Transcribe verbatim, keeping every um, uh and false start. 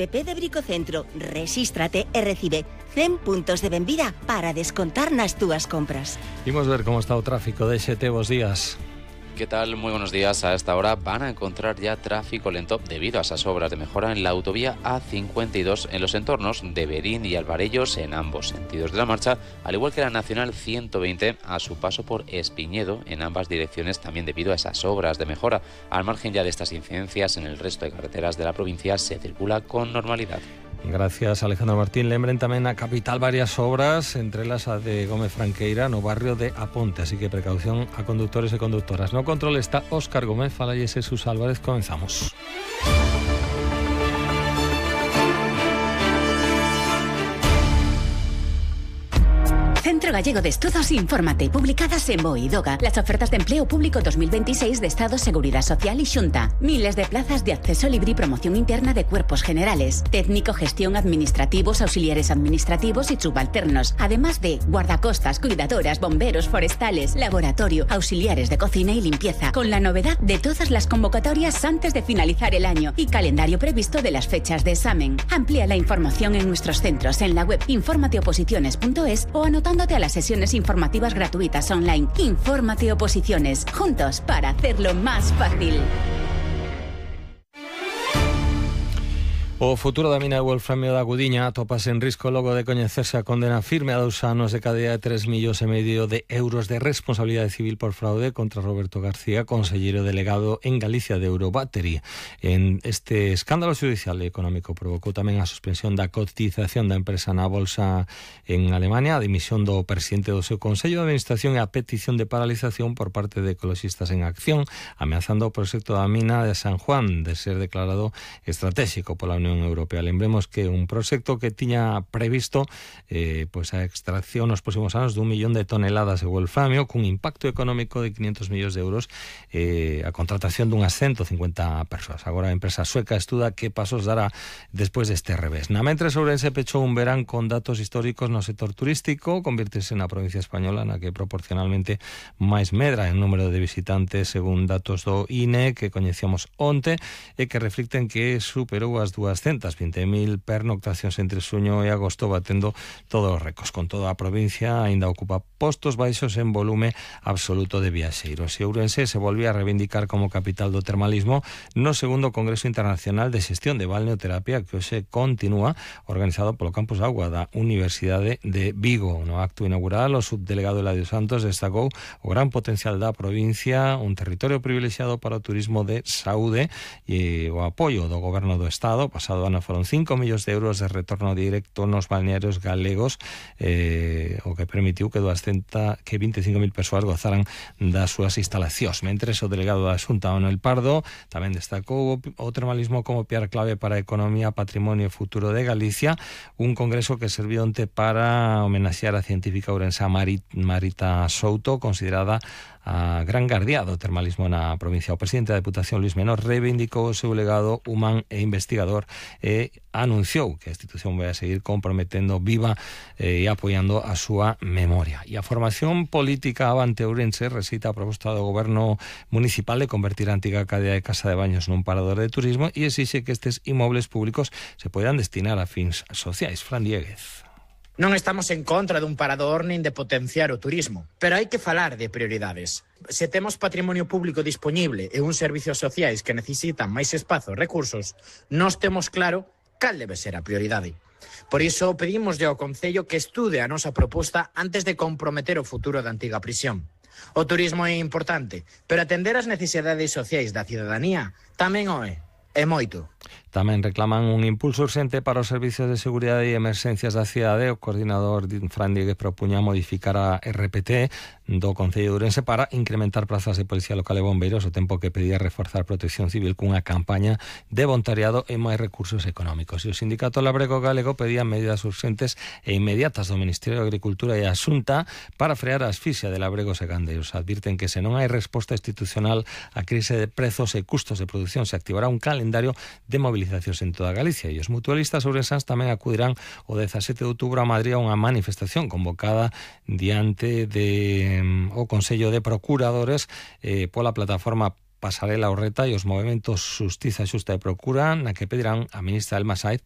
app de Bricocentro, rexístrate e recibe cen puntos de benvida para descontar nas túas compras. Imos ver como está o tráfico de X T. Bos días. ¿Qué tal? Muy buenos días. A esta hora van a encontrar ya tráfico lento debido a esas obras de mejora en la autovía A cincuenta y dos en los entornos de Berín y Alvarellos en ambos sentidos de la marcha, al igual que la Nacional ciento veinte a su paso por Espiñedo en ambas direcciones, también debido a esas obras de mejora. Al margen ya de estas incidencias, en el resto de carreteras de la provincia se circula con normalidad. Gracias, Alejandro Martín. Lembren tamén a capital varias obras, entre elas a de Gómez Franqueira no barrio de Aponte, así que precaución a conductores e conductoras. No control está Óscar Gómez, falalle Jesús Álvarez. Comenzamos. Centro Gallego de Estudos Infórmate, publicadas en BOE y DOGA, las ofertas de empleo público dos mil veintiséis de Estado, Seguridad Social y Xunta. Miles de plazas de acceso libre y promoción interna de cuerpos generales, técnico, gestión, administrativos, auxiliares administrativos y subalternos, además de guardacostas, cuidadoras, bomberos, forestales, laboratorio, auxiliares de cocina y limpieza, con la novedad de todas las convocatorias antes de finalizar el año y calendario previsto de las fechas de examen. Amplía la información en nuestros centros en la web informateoposiciones punto es o anotando a las sesiones informativas gratuitas online. Infórmate Oposiciones, juntos para hacerlo más fácil. O futuro da mina de Wolframio da Gudiña atopas en risco logo de coñecerse a condena firme a dous anos de cadea de tres millóns e medio de euros de responsabilidade civil por fraude contra Roberto García, conselleiro delegado en Galicia de Eurobattery. En este escándalo judicial e económico provocou tamén a suspensión da cotización da empresa na bolsa en Alemania, a dimisión do presidente do seu Consello de Administración e a petición de paralización por parte de Ecologistas en Acción, ameazando o proxecto da mina de San Juan de ser declarado estratégico pola Unión Europea. Lembremos que un proxecto que tiña previsto eh, pues a extracción nos próximos anos dun millón de toneladas de wolframio cun impacto económico de quinientos millóns de euros, eh, a contratación dunhas ciento cincuenta persoas. Agora a empresa sueca estuda que pasos dará despois deste revés. Na mentres, Ourense pechou un verán con datos históricos no sector turístico, convirtese na provincia española na que proporcionalmente máis medra en número de visitantes según datos do I N E que coñecíamos onte e que reflicten que superou as dúas vinte mil pernoctacións entre xuño e agosto, batendo todos os récords. Con toda a provincia aínda ocupa postos baixos en volume absoluto de viaxeiros. E Ourense se volvía a reivindicar como capital do termalismo no segundo Congreso Internacional de Xestión de Balneoterapia que hoxe continúa, organizado polo Campus Agua da Universidade de Vigo. No acto inaugural, o subdelegado Eladio Santos destacou o gran potencial da provincia, un territorio privilexiado para o turismo de saúde e o apoio do Goberno do Estado. Pasado ano foron cinco millóns de euros de retorno directo nos balnearios galegos, eh, o que permitiu que doscientas, que vinte e cinco mil persoas gozaran das súas instalacións. Mentres, o delegado da Xunta, Manuel Pardo, tamén destacou o termalismo como piar clave para a economía, patrimonio e futuro de Galicia, un congreso que serviu onte para homenaxear a científica ourensa Marita Souto, considerada a gran guardia do termalismo na provincia. O presidente da Deputación, Luis Menor, reivindicou o seu legado humán e investigador e anunciou que a institución vai a seguir comprometendo viva e apoiando a súa memoria. E a formación política Avante Ourense recita a proposta do goberno municipal de convertir a antiga cadea de casa de baños nun parador de turismo e exixe que estes inmobles públicos se poidan destinar a fins sociais. Fran Dieguez. Non estamos en contra dun parador nin de potenciar o turismo, pero hai que falar de prioridades. Se temos patrimonio público disponible e uns servicios sociais que necesitan máis espazo e recursos, nós temos claro cal debe ser a prioridade. Por iso pedimos ao Concello que estude a nosa proposta antes de comprometer o futuro da antiga prisión. O turismo é importante, pero atender as necesidades sociais da cidadanía tamén o é, e moito. Tamén reclaman un impulso urxente para os servicios de seguridade e emerxencias da cidade. O coordinador Fran Dieguez propuña modificar a R P T do Concello de Ourense para incrementar plazas de policía local e bombeiros, o tempo que pedía reforzar protección civil cunha campaña de voluntariado e máis recursos económicos. E o sindicato labrego galego pedía medidas urxentes e inmediatas do Ministerio de Agricultura e a Xunta para frear a asfixia de labregos e gandeiros. Advirten que se non hai resposta institucional á crise de prezos e custos de produción, se activará un calendario de mobilizacións en toda Galicia, e os mutualistas ourensans tamén acudirán o dezasete de outubro a Madrid a unha manifestación convocada diante de um, o Consello de Procuradores eh, pola plataforma Pasarela Orreta e os movementos Xustiza Xusta e Procura, na que pedirán a ministra Elma Sáez